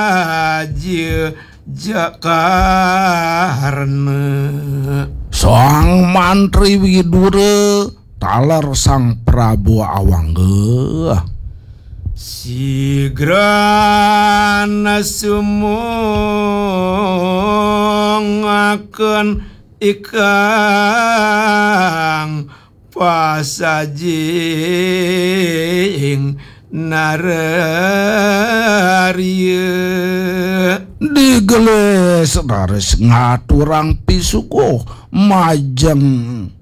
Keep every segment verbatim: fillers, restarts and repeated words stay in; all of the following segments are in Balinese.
Raja Jakarna. Sang Mantri Widura taler Sang Prabu Awangga. Sigrana sumungaken ikang pasajing nararya. Digelis raris ngaturang pisuguh majeng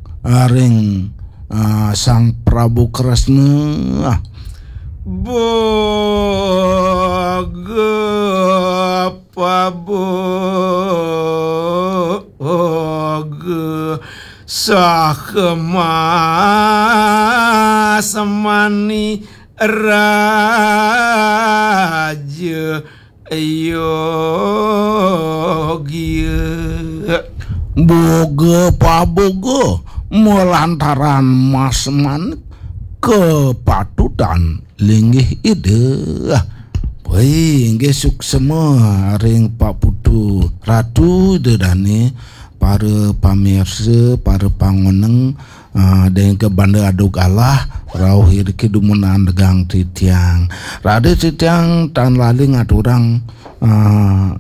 ring, ah, Sang Prabu Kresna. Boga paboga saha masemani raja yogia. Boga paboga malantaran mas manik kepatutan linggih Ida. Wih, inggih suksema ring Pak Putu Ratu Ida Dane, para pamirsa, para pangoneng, ah, dengke banda aduk alah, rauh iriki dumunan degang titiang. Raris titiang tan lali ngaturang, ah,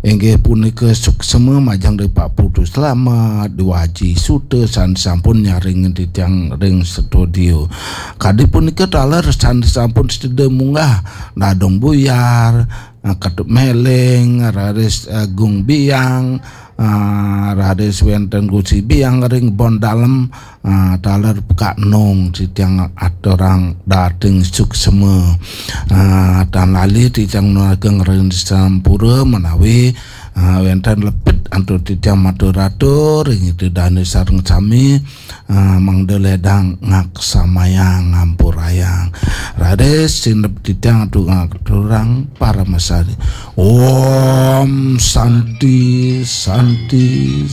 inggih punika suksema majeng ring Pak Putu Slamet, Dwaji Suta, san sampun nyaring titiang ring studio. Kadi punika taler san sampun sida munggah, Dadong Buyar, ah, Ketut Meleng, raris, ah, Gung Biang, ah, raris wenten Gusi Biang ring Bon Dalem, ah, taler Pekak Nong, titiang aturang dating suksema. Ah, tan lali titiang nunaken ring sampura menawi, ah, wenten lepit antuk titiang matur-atur ring Ida Dane sareng sami, ah, mangda ledang ngaksamayang ngampurayang. Raris sineb titiang antuk ngaturang paramasari. Om Santi, Santi,